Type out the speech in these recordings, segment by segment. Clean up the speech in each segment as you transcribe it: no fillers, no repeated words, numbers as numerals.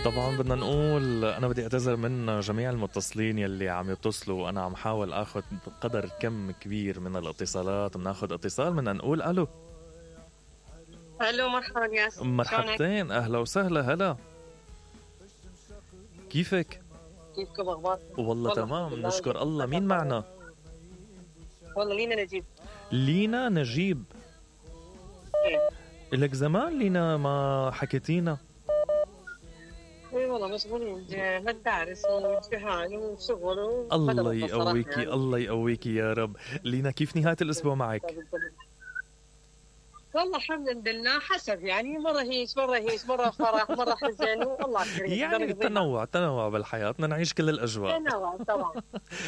طبعا بدنا نقول أنا بدي أعتذر من جميع المتصلين يلي عم يتصلوا. أنا عم حاول أخذ قدر كم كبير من الاتصالات. بناخذ اتصال، بدنا نقول ألو. الو مرحبا ياسين، مرحبتين، أهلا وسهلا. هلا، كيفك؟ كيفكم اخباركم؟ والله تمام نشكر الله. مين معنا؟ والله لينا نجيب. لينا نجيب. ايه لك زمان لينا ما حكيتينا. ايه والله مشغولين مدارس وامتحان وشغل الله يقويكي يعني. الله يقويكي يا رب. لينا كيف نهاية الأسبوع معك؟ والله الحمد لله، حسب يعني، مرة هيش مرة فرح مرة حزن، والله كريم يعني تنوع بالحياة، بدنا نعيش كل الأجواء. تنوع طبعا.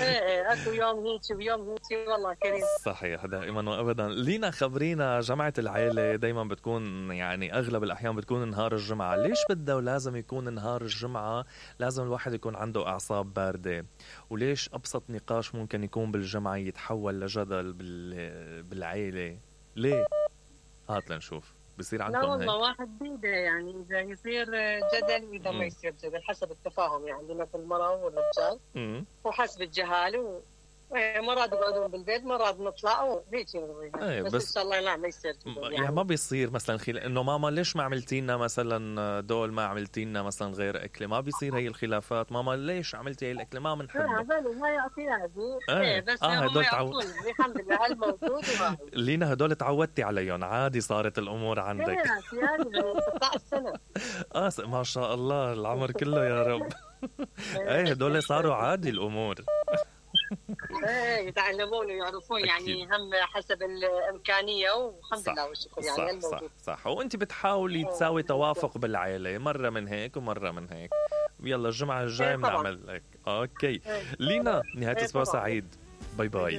ايه اكو يوم هيك ويوم هيك، والله كريم. صحيح دائما وأبدا. لينا خبرينا، جمعة العيلة دايما بتكون يعني أغلب الأحيان بتكون نهار الجمعة. ليش بدها ولازم يكون نهار الجمعة؟ لازم الواحد يكون عنده أعصاب باردة. وليش أبسط نقاش ممكن يكون بالجمعة يتحول لجدل بالعيلة؟ ليه؟ هات لنشوف بصير عندكم. لا والله واحد بيده يعني، إذا يصير جدل وإذا ما يصير جدل حسب التفاهم يعني، عندنا في المرأة والرجال وحسب الجهال مرات يقعدون بالبيت مرات نطلع وهيك يعني. بس إن شاء الله لا ما يصير يعني ما بيصير مثلا إنه ماما ليش ما عملتي لنا مثلا دول، ما عملتي لنا مثلا غير أكلة. ما بيصير هي الخلافات. ماما ليش عملتي هي الأكلة ما بنحبها. ما يعطيها هذه. بس هدول الحمد لله هالموجود. لينا هدول تعودتي عليهم عادي، صارت الأمور عندك. يعني 16 سنة. ما شاء الله العمر كله يا رب. ايه هدول صاروا عادي الأمور. ايه يتعلمون ويعرفون يعني، هم حسب الإمكانية والحمد لله والشكر يعني. صح. وانت بتحاولي تساوي توافق بالعائلة، مرة من هيك ومرة من هيك. يلا الجمعة الجاي بنعمل هيك. اوكي لينا، نهاية اسبوع سعيد. باي باي.